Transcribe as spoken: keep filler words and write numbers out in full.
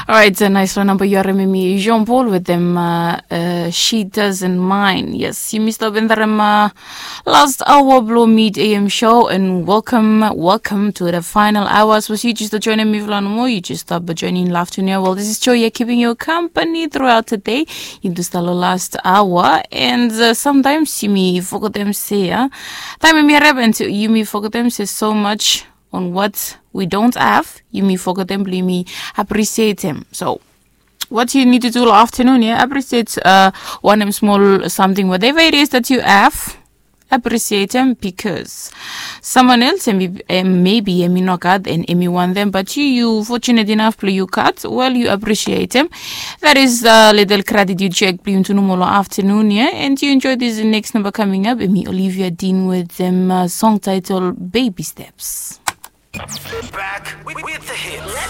Orait, nais long namba yu harim em i Jean Paul wetem uh, uh, She Doesn't Mind. Yes, yumi stap endarim uh, last hour blong Mid A M show and welcome, welcome to the final hour. Sapos yu just joinim mifala nomo, yu just stap joining love to new. Well, this is Joy, yeah, keeping you company throughout the day. Yu just long last hour and uh, sometimes yumi fogetem se, uh, taem em i harim and yumi fogetem se so much on what we don't have, yumi fogetem blong yumi appreciate em. So what you need to do long afternoon, yeah, appreciate uh, wanem small something, whatever it is that you have, appreciate em, because someone else em, em, maybe em i no gat and em i wantem, but you, you fortunate enough blong yu gat, well, you appreciate em. That is a little gratitude check blong yumi tu nomo long afternoon, yeah, and you enjoy this next number coming up. Em i Olivia Dean wetem uh, song title Baby Steps. Back with, with the hits.